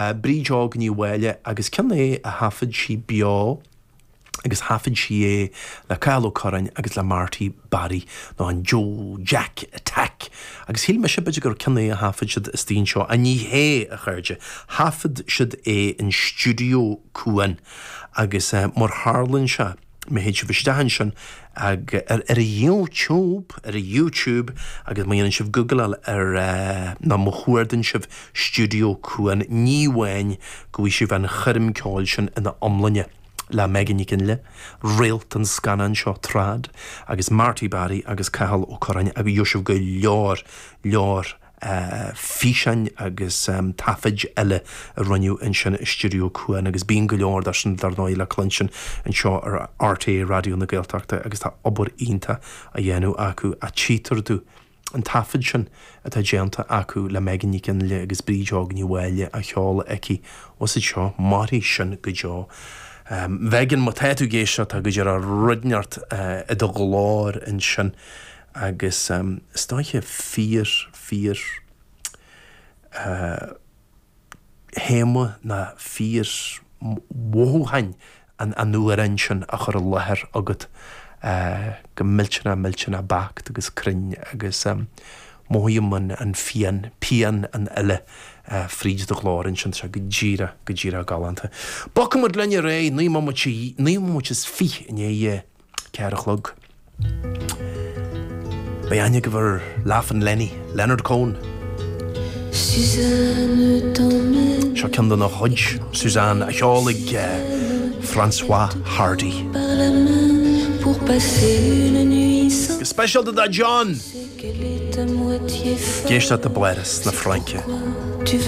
Bríd Óg Ní Mháille agus ceann é a thaifead sí beo agus thaifead sí é le Cathal Ó Curráin agus le Marty Barry nó an Joe Jack Attack agus shíl mise b'fhéidir gur ceann é a thaifead siad istigh anseo ach ní hé, a chairde, thaifead siad é in Stiúideo Cuan agus mar tharlaíonn sé. Má théann sibh isteach ansin ag ar ar YouTube, ar YouTube agus má dhéanann sibh googleáil ar nó má chuardaíonn sibh Stiúideo Cuan, ní amháin go bhfaighidh sibh an choirm ceoil sin ina iomláine le Megan Nic Fhionnghaile, réalt an scannáin seo, Trad, agus Marty Barry agus Cathal Ó Curráin agus gheobhaidh sibh go leor, leor. físeáin agus taifid eile a rinneadh ansin i Stiúideo Cuan agus bíonn go leor de sin dar ndóigh le cluinstin anseo ar RTÉ Raidió na Gaeltachta agus tá obair iontach á dhéanamh acu ach tchítear domh an taifead sin atá déanta acu le Megan Nic Fhionnghaile agus Bríd Óg Ní Mháille á cheol aici os cionn seo, mairfidh sin go deo. Mhegan, má tá tú ag éisteacht tá go díreach rud inteacht i do ghlór ansin. Agus is dóiche fíor, fíor théama ná fíor mhothúcháin an amhráin sin á chur i láthair agat go millteanach, millteanach beacht agus cruinn agus mothaím an phian, pian an fhile fríd do ghlór ansin, tá sé go díreach, go díreach galánta. Bogfaidh muid linn ar aghaidh, 9 mbomaite, 9 mbomaite is 20 i ndiaidh 4 a chlog. Beidh aithne agaibh ar Laughin' Lenny, Leonard Cohen. Seo ceann dena chuid, Suzanne, á cheol ag François Hardy. Go speisialta do John! Ag éisteacht i bPáras na Fraince.